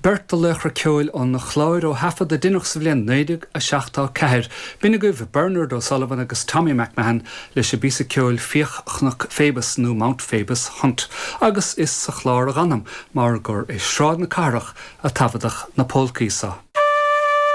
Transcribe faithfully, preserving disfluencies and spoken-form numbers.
Beirt de laochra ceoil an Chláir ó thaifead a deineadh sa bhliain naoi déag a seachtó ceathair. B'in agaibh Bernard O'Sullivan agus Tommy McMahon leis an bpíosa ceoil Fiach Chnoc Phoebus nó Mount Phoebus Hunt. Agus is sa Chlár a dh'anam mar gur i Sráid na Cathrach a taifeadadh na polcaí seo.